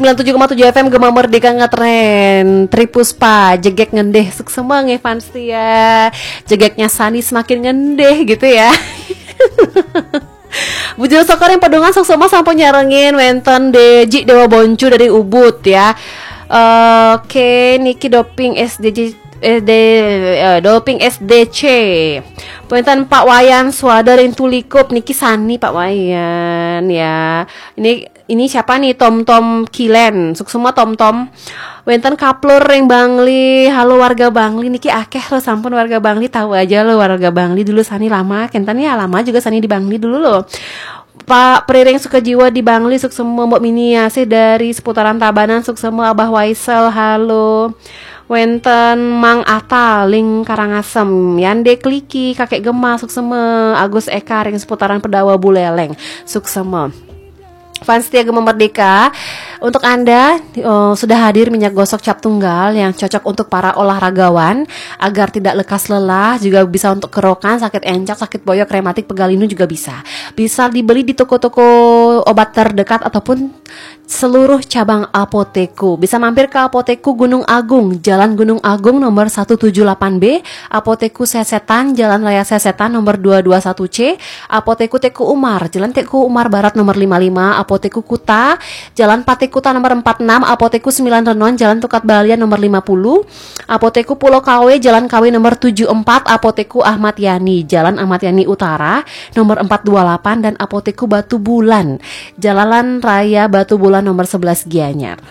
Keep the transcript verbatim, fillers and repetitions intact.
sembilan tujuh koma tujuh F M Gema Merdeka ngetren. Tri Puspa, jegek ngendih. Suksema nggih fans setia. Jegeknya Sani semakin ngendih gitu ya. Bujur Sokor yang pedungan suksema sampun nyarengin wenten Deji Dewa Boncu dari Ubud ya. Oke, niki doping S D J eh, de, eh, doping S D C. Wenten Pak Wayan Swadar yang Tulikup niki Sani Pak Wayan ya. Ini ini siapa nih? Tom Tom Kilen. Suksema Tom Tom. Wenten Kaplur ring Bangli. Halo warga Bangli niki akeh lo sampun warga Bangli tahu aja lo warga Bangli dulu Sani lama. Kenten ya lama juga Sani di Bangli dulu lo. Pak Priring Sukajiwa di Bangli suksema Mbok Mini Asih dari seputaran Tabanan suksema Abah Waisel halo. Wenten Mang Ata ling Karangasem, Yande Kliki, Kakek Gema suksema, Agus Eka ring seputaran Pedawa Buleleng suksema. Fans setia Gema Merdeka, untuk Anda uh, sudah hadir minyak gosok cap tunggal yang cocok untuk para olahragawan agar tidak lekas lelah, juga bisa untuk kerokan, sakit encok, sakit boyok, rematik, pegal linu juga bisa. Bisa dibeli di toko-toko obat terdekat ataupun seluruh cabang Apoteku. Bisa mampir ke Apoteku Gunung Agung, Jalan Gunung Agung nomor satu tujuh delapan B, Apoteku Sesetan, Jalan Raya Sesetan nomor dua dua satu C, Apoteku Teku Umar, Jalan Teku Umar Barat nomor lima lima, Apoteku Kuta, Jalan Pate Kuta nomor empat enam, Apoteku Sembilan Renon, Jalan Tukat Balian nomor lima puluh, Apoteku Pulau Kawe, Jalan Kawe nomor tujuh empat, Apoteku Ahmad Yani, Jalan Ahmad Yani Utara nomor empat dua delapan, dan Apoteku Batu Bulan, Jalan Raya Batu Bulan nomor sebelas Gianyar.